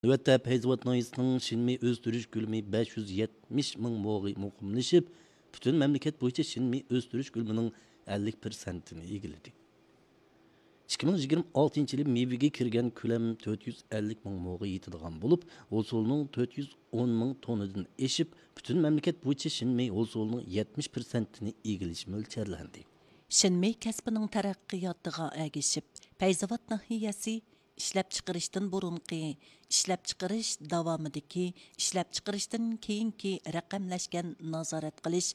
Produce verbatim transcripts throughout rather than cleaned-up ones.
نۆۋەتتە پەيزاۋات ناھىيەسىنىڭ شىنمېي ئۆستۈرۈش كۆلىمى بەش يۈز يەتمىش مىڭ موغا مۇقىملىشىپ، پۈتۈن مەملىكەت بويىچە شىنمېي ئۆستۈرۈش كۆلىمىنىڭ ئەللىك پىرسەنتىنى ئىگىلىدى. ئىككى مىڭ يىگىرمە ئالتىنچى يىلى مېۋىگە كىرگەن كۆلەم تۆت يۈز ئەللىك مىڭ موغا يېتىدىغان بولۇپ، ھوسۇلنىڭ تۆت يۈز ئون مىڭ توننىدىن ئېشىپ، پۈتۈن مەملىكەت بويىچە شىنمېي ھوسۇلنىڭ يەتمىش پىرسەنتىنى ئىگىلىشى مۆلچەرلەندى. شىنمېي كەسپىنىڭ تەرەققىياتىغا ئەگىشىپ، پەيزاۋات ناھىيەسى ئىشلەپچىقىرىشتىن بۇرۇنقى، ئىشلەپچىقىرىش داۋامىدىكى، ئىشلەپچىقىرىشتىن كېيىنكى رەقەملەشكەن نازارەت قىلىش،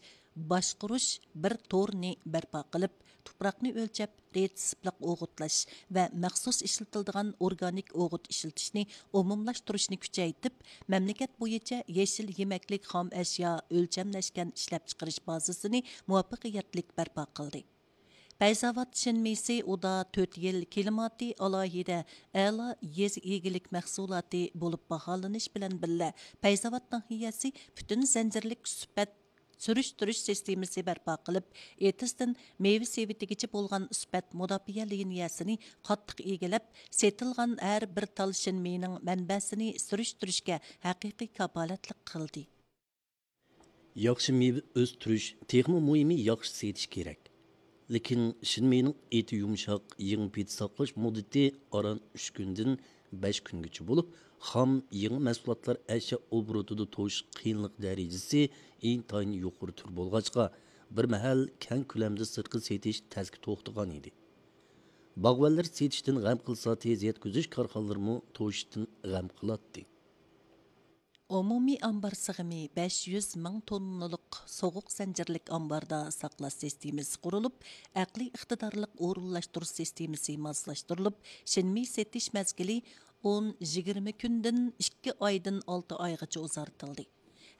باشقۇرۇش بىر تورىنى بەرپا قىلىپ، تۇپراقنى ئۆلچەپ، رېتسېپلىق ئوغۇتلاش ۋە مەخسۇس ئىشلىتىلىدىغان ئورگانىك ئوغۇت ئىشلىتىشنى ئومۇملاشتۇرۇشنى كۈچەيتىپ، مەملىكەت بويىچە يېشىل يېمەكلىك خام ئەشيا ئۆلچەملەشكەن ئىشلەپچىقىرىش بازىسىنى مۇۋەپپەقىيەتلىك بەرپا قىلدى. پەيزاۋات شىنمېيسى ئۇدا تۆت يىل كىلىماتى ئالاھىدە ئەلا يېزا ئىگىلىك مەھسۇلاتى بولۇپ باھالىنىش بىلەن بىللە، پەيزاۋات ناھىيەسى پۈتۈن زەنجىرلىك سۈپەت سۈرۈشتۈرۈش سىستېمىسى بەرپا قىلىپ، ئېتىزدىن مېۋە سېۋىتىگىچە بولغان سۈپەت مۇداپىئە لىنىيەسىنى قاتتىق ئىگىلەپ، سېتىلغان ھەر بىر تال شىنمېينىڭ مەنبەسىنى سۈرۈشتۈرۈشكە ھەقىقىي كاپالەتلىك قىلدى. ياخشى مېۋە ئۆستۈرۈش، تېخىمۇ مۇھىمى ياخشى سېتىش كېرەك. لېكىن شىنمېينىڭ ئېتى يۇمشاق، يېڭى پېتى ساقلاش مۇددىتى ئاران ئۈچ كۈندىن بەش كۈنگىچە بولۇپ، خام يېڭى مەھسۇلاتلار ئەشيا ئوبوروتىدا توشۇش قىيىنلىق دەرىجىسى ئىنتايىن يۇقىرى تۈر بولغاچقا، بىر مەھەل كەڭ كۆلەمدە سىرتقا سېتىش تەسكە توختىغان ئىدى. باغۋەنلەر سېتىشتىن غەم قىلسا، تېز يەتكۈزۈش كارخانىلىرىمۇ توشۇشتىن غەم قىلاتتى. ئومۇمىي ئامبار سىغىمى بەش يۈز مىڭ توننىلىق سوغۇق زەنجىرلىك ئامباردا ساقلاش سىستېمىسى قۇرۇلۇپ، ئەقلىي ئىقتىدارلىق ئورۇنلاشتۇرۇش سىستېمىسى ماسلاشتۇرۇلۇپ، شىنمېي سېتىش مەزگىلى ئون، يىگىرمە كۈندىن ئىككى ئايدىن ئالتە ئايغىچە ئۇزارتىلدى.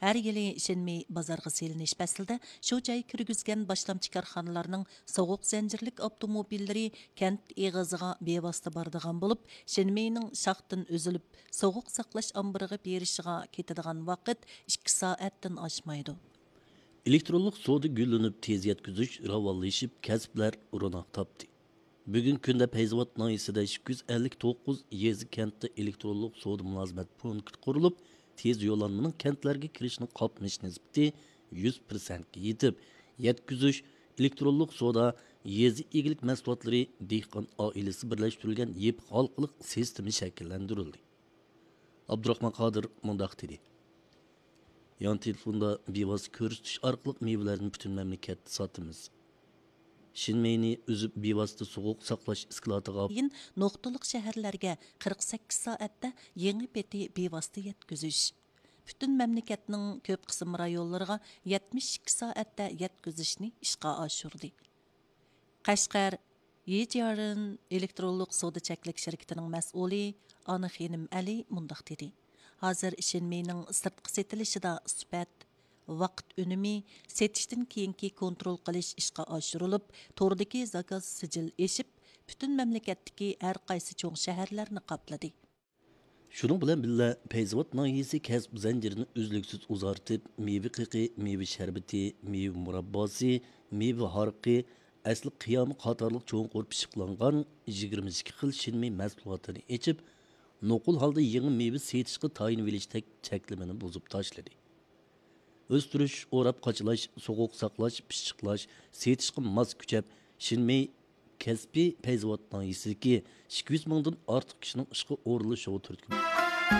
ھەر يىلى شىنمېي بازارغا سېلىنىش پەسلىدە شۇ جاي كىرگۈزگەن باشلامچى كارخانىلارنىڭ سوغۇق زەنجىرلىك ئاپتوموبىللىرى كەنت ئېغىزىغا بىۋاسىتە بارىدىغان بولۇپ، شىنمېينىڭ شاختىن ئۈزۈلۈپ، سوغۇق ساقلاش ئامبىرىغا بېرىشىغا كېتىدىغان ۋاقىت ئىككى سائەتتىن ئاشمايدۇ. ئېلېكترونلۇق سودا گۈللىنىپ، تېز يەتكۈزۈش راۋانلىشىپ، كەسىپلەر روناق تاپتى. بۈگۈنكى كۈندە پەيزاۋات ناھىيەسىدە ئىككى يۈز ئەللىك توققۇز يېزا، كەنتتە ئېلېكترونلۇق سودا مۇلازىمەت پونكىتى قۇرۇلۇپ، تېز يوللانمىنىڭ كەنتلەرگە كىرىشىنىڭ قاپلىنىش نىسبىتى يۈز پىرسەنتكە يېتىپ، يەتكۈزۈش، ئېلېكترونلۇق سودا، يېزا ئىگىلىك مەھسۇلاتلىرى دېھقان ئائىلىسى بىرلەشتۈرۈلگەن يېپىق ھالقىلىق سىستېما شەكىللەندۈرۈلدى. ئابدۇراخمان قادىر مۇنداق دېدى: يان تېلېفوندا بىۋاسىتە كۆرسىتىش ئارقىلىق مېۋىلەرنى پۈتۈن مەملىكەتتە ساتىمىز. شىنمېينى ئۈزۈپ، بىۋاسىتە سوغۇق ساقلاش ئىسكىلاتىغا كېيىن نۇقتىلىق شەھەرلەرگە قىرىق سەككىز سائەتتە يېڭى پېتى بىۋاسىتە يەتكۈزۈش، پۈتۈن مەملىكەتنىڭ كۆپ قىسىم رايونلىرىغا يەتمىش ئىككى سائەتتە يەتكۈزۈشنى ئىشقا ئاشۇردى. قەشقەر يىجيارېن ئېلېكترونلۇق سودا چەكلىك شىركىتىنىڭ مەسئۇلى ئانا خېنىم ئەلى مۇنداق دېدى: ھازىر شىنمېينىڭ سىرتقا سېتىلىشىدا سۈپەت، ۋاقىت ئۈنۈمى، سېتىشتىن كېيىنكى كونترول قىلىش ئىشقا ئاشۇرۇلۇپ، توردىكى زاكاز سىجىل ئېشىپ، پۈتۈن مەملىكەتتىكى ھەر قايسى چوڭ شەھەرلەرنى قاپلىدى. شۇنىڭ بىلەن بىللە، پەيزاۋات ناھىيەسى كەسىپ زەنجىرىنى ئۈزلۈكسىز ئۇزارتىپ، مېۋە قېقى، مېۋە شەربىتى، مېۋە مۇرابباسى، مېۋە ھارىقى، ئەسلى قىيامى قاتارلىق چوڭقۇر پىششىقلانغان يىگىرمە ئىككى خىل شىنمېي مەھسۇلاتىنى ئېچىپ، نوقۇل ھالدا يېڭى مېۋە سېتىشقا تايىنىۋېلىشتەك چەكلىمىنى بۇزۇپ تاشلىدى. ئۆستۈرۈش، ئوراپ قاچىلاش، سوغۇق ساقلاش، پىششىقلاش، سېتىشقا ماس كۈچەپ، شىنمېي كەسپى پەيزاۋات ناھىيەسىدىكى ئىككى يۈز مىڭدىن ئارتۇق كىشىنىڭ ئىشقا ئورۇنلىشىشىغا تۈرتكە بولدى.